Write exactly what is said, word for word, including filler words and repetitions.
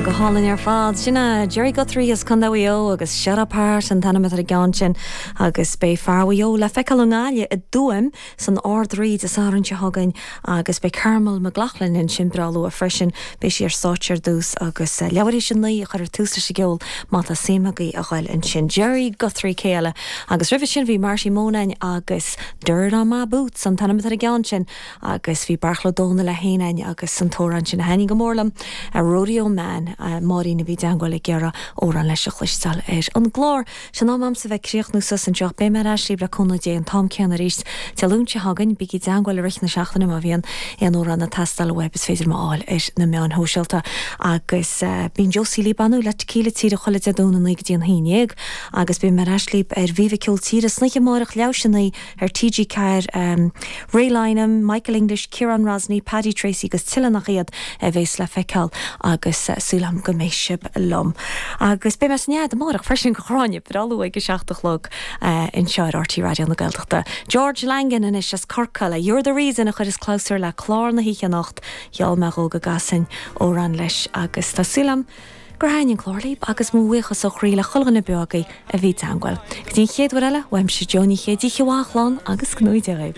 Go hálainn ar fad sin é Jerry Guthrie as Contae Mhaigh Eo agus Shut Up Heart an t-ainm atá ar an gceann sin agus beidh fear Mhaigh Eo le feiceáil i nGaillimh i dTuaim san Ard Rí Dé Sathairn seo chugainn agus beidh Carmel McLaughlin ansin breá luath freisin beidh sí ar stáitse ar dtús agus eh, leathuair théis a naoi a chuirtear tús leis an gceol má tá suim agaibh a ghoil ansin Jerry Guthrie céile agus roimhe sin bhí Marty Monan agus Dirt on my boots an t-ainm atá ar an gceann sin agus bhí Beartla Ó Domhnaill le héanain agus an t-amhrán sin a thaitníonn go mór liom a Rodeo Man Máirín a bhí i dteagmháil ag iarraidh amhrán leis a chloisteáil ar an gclár. Sin am a'msa bheith ag críochnú suas anseo beidh mé ar ais libh le cúnamh Dé an t-am céanna arís Dé Luain seo chugainn bígí i dteagmháil i rith na seachtaine má bhíonn aon amhrán ag teastáil uaibh is féidir mé a fháil ar na meáin shóisialta agus uh, bíonn Josie Lee Banu le tequila tíre chuile Dé Domhnaigh naoi go dtí an haon déag agus beidh mé ar ais libh ar Viva Ceol Tíre san oíche amárach leathuair théis a naoi ar TG Ceathair um, Ray Lynam, Michael English, Kieran Rosny, Paddy Tracy agus tuilleadh nach iad a bheas le feiceáil agus uh, súil agam go mbeidh sibh liom. Agus beidh mé san nead amárach freisin go chráine breá luath ag a seacht a chlog uh, anseo ar RTÉ Raidió na Gaeltachta. George Langan anois as Corcaigh le You're the reason a chuireas clabhsúr le clár na hoíche anocht gheall mé go gcasfainn amhrán leis agus tá súil agam gur thaitin an clár libh agus mo bhuíochas ó chroí le chuile dhuine beo agaibh a bhí i dteagmháil. Go dtí an chéad uair eile uaimse Joe Ní Chéide chéad agus gnóide.